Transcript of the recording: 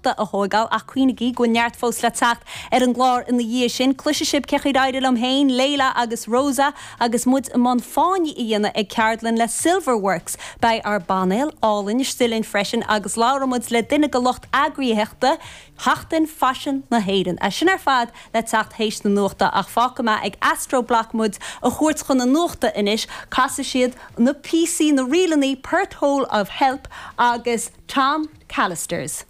nuachta a thóigeáil ach cuimhnigí go bhfuil neart fós le teacht ar an gclár ina dhiaidh sin. Cloisfidh sibh cén chaoi ar éirigh liom féin, Leila agus Rosa agus muid i mbun fáinní a dhéanamh ag ceardlann le Silverworks. Beidh ár bpainéal álainn istigh linn freisin agus labhróidh muid le duine de lucht eagraíochta Sheachtain Faisin na hÉireann. É sin ar fad le teacht théis na nuachta ach fágfaidh mé ag Astroblack muid a thabhairt chun na nuachta anois. Casfaidh siad na píosaí, na ríleanna Porthole of Help agus Tom Callisters.